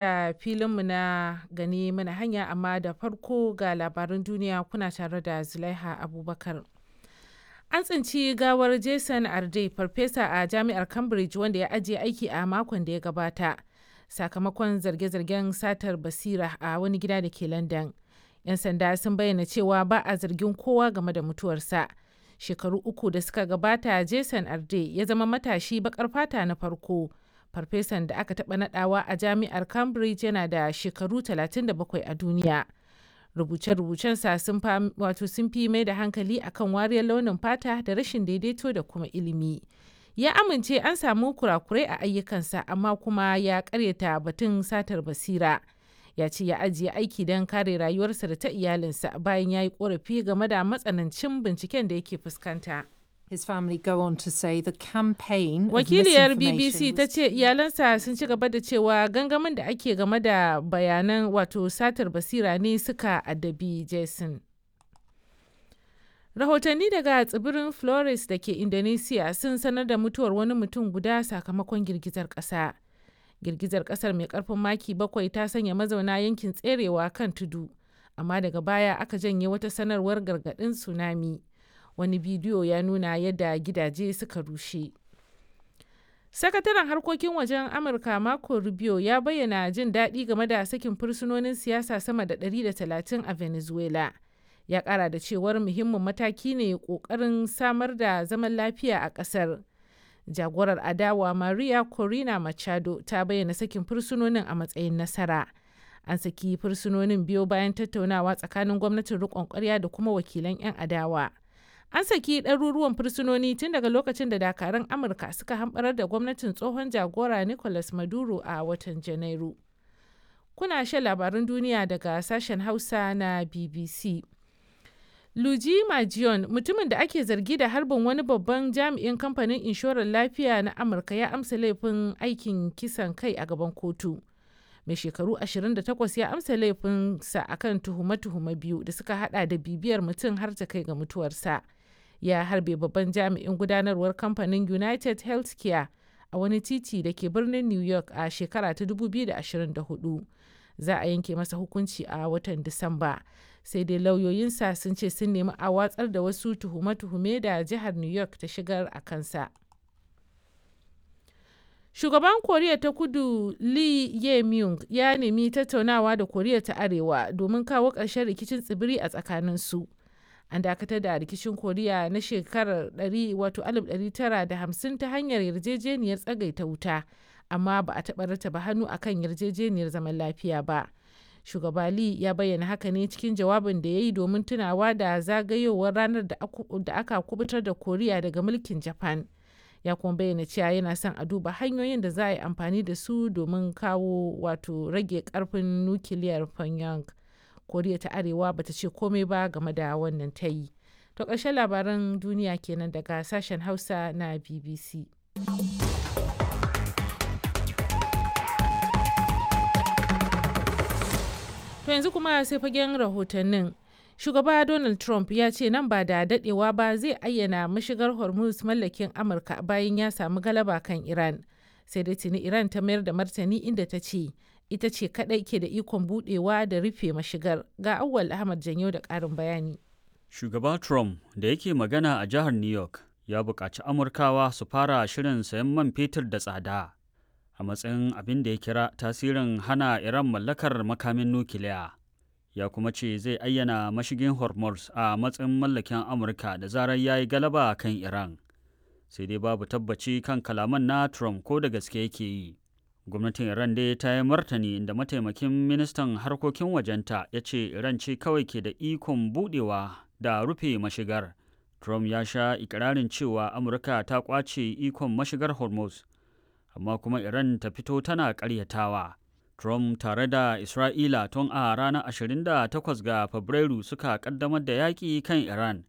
Da filinmu na gani mana hanya, amma da farko ga labaran duniya, kuna tare da Zulaiha Abubakar. An tsinci gawar Jason Arde, farfesa a jami'ar Cambridge wanda ya ajiye aiki a makon da ya gabata sakamakon zarge-zargen satar basira, a wani gida da ke London. 'Yan sanda sun bayyana cewa ba a zargin kowa game da mutuwarsa. Shekaru 3 da suka gabata, Jason Arde ya zama matashi bakar fata na farko farfesan da aka taɓa nadawa a jami'ar Cambridge, yana da shekaru 37 a duniya. Rubuce-rubucensa sun wato sun fi mai da hankali akan wariyar launin fata da rashin daidaito da kuma ilimi. Ya amince an samu kurakurai a ayyukansa, amma kuma ya karyata batun satar basira. Ya ce ya ajiye aiki don kare rayuwarsa da ta iyalinsa bayan ya yi korafi game da matsanancin binciken da yake fuskanta. His family go on to say the campaign of Wakiliyar misinformation BBC ta was ce iyalansa sun ci gaba da cewa gangamin da ake game da bayanan wato satar basira ne suka addabi Jason. Rahotanni daga tsibirin Flores da ke Indonesia sun sanar da mutuwar wani mutum guda sakamakon girgizar ƙasa. Girgizar ƙasar mai ƙarfin maki 7 ta sanya mazauna yankin tserewa kan tudu, amma daga baya aka janye wata sanarwar gargaɗin tsunami. Wani bidiyo ya nuna yadda gidaje suka rushe. Sakataren harkokin wajen Amurka Marco Rubio ya bayyana jin daɗi game da sakin fursunonin siyasa sama da 130 a Venezuela. Ya ƙara da cewar muhimmin mataki ne ƙoƙarin samar da zaman lafiya a ƙasar. Jagorar adawa Maria Corina Machado ta bayyana sakin fursunonin a matsayin nasara. An saki fursunonin biyo bayan tattaunawa tsakanin gwamnatin riƙon ƙwarya da kuma wakilan 'yan adawa. An saki ɗaruruwan fursunoni tun daga lokacin da dakarun Amurka suka hamɓarar da gwamnatin tsohon jagora Nicolas Maduro a watan Janairu. Kuna shan labarun duniya daga sashen Hausa na BBC. Luigi Majion, mutumin da ake zargi da harbin wani babban jami'in kamfanin inshorar lafiya na Amurka, ya amsa laifin aikin kisan kai a gaban kotu. Mai shekaru 28 ya amsa laifinsa akan tuhume-tuhume biyu da suka hada da bibiyar mutum har ta kai ga mutuwarsa. Ya harbe babban jami'in gudanarwar kamfanin United Healthcare a wani titi da ke birnin New York a shekara ta 2024. Za a yanke masa hukunci a watan Disamba. Sai dai lauyoyinsa sun ce sun nemi a watsar da wasu tuhume-tuhume da jihar New York ta shigar a kansa. Shugaban Koriya ta Kudu Lee Jae-myung ya nemi tattaunawa da Koriya ta Arewa domin kawo ƙarshen rikicin tsibiri a tsakaninsu. An dakatar da rikicin Koriya na shekarar 1950 ta hanyar yarjejeniyar tsagaita wuta, amma ba a taɓa rattaba hannu akan yarjejeniyar zaman lafiya ba. Shugaba Lee ya bayyana haka ne cikin jawabin da ya yi domin tunawa da zagayowar ranar da aka kubutar da Koriya daga mulkin Japan. Ya kuma bayyana cewa yana son a duba hanyoyin da za a yi amfani da su domin kawo wato rage karfin nukiliyar Pyongyang. Koriya ta Arewa bata ce komai ba game da wannan tayi. To ƙarshen labaran duniya kenan daga sashen Hausa na BBC. To yanzu kuma sai fagen rahotannin. Shugaba Donald Trump ya ce nan ba da dadewa ba zai ayyana mashigar Hormuz mallakin Amurka bayan ya samu galaba kan Iran. Sai dai tuni Iran ta mayar da martani, inda ta ce ita ce kadai ke da ikon budewa da rufe mashigar. Ga Auwal Ahmad Janyo da karin bayani. Shugaba Trump da yake magana a jihar New York ya buƙaci Amurkawa su fara shirin sayan man fetur da tsada a matsayin abin da ya kira tasirin hana Iran mallakar makamin nukiliya. Ya kuma ce zai ayyana mashigin Hormuz a matsayin mallakin Amurka da zarar ya yi galaba kan Iran. Sai dai babu tabbaci kan kalaman na Trump ko da gaske yake yi. Gwamnatin Iran dai ta yi martani, inda mataimakin ministan harkokin wajenta ya ce Iran ce kawai ke da ikon budewa da rufe mashigar. Trump ya sha ikirarin cewa Amurka ta kwace ikon mashigar Hormuz, amma kuma Iran ta fito tana karyatawa. Trump tare da Isra'ila tun a ranar 28 ga Fabrairu suka kaddamar da yaƙi kan Iran.